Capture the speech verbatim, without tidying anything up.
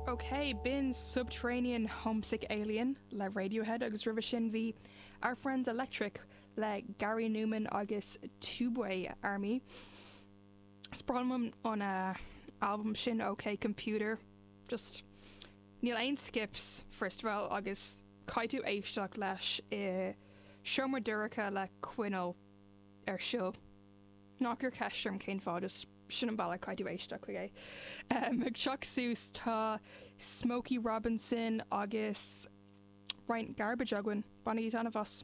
Ok, b'in Subterranean Homesick Alien le Radiohead agus roimhe sin bhí Our Friends Electric le Gary Numan agus Tubeway Army. Is breá liom an uh, album sin OK Computer. Just níl aon skips first of all agus caithfidh tú éisteacht leis i seomra dorcha le coinneal ar siúl. Ná cuir ceist orm cén fáth just sin an bealach caithfidh tú éisteacht chuig é. Um, ag teacht suas tá Smokey Robinson agus roinnt garbage againn bainigí taitneamh as.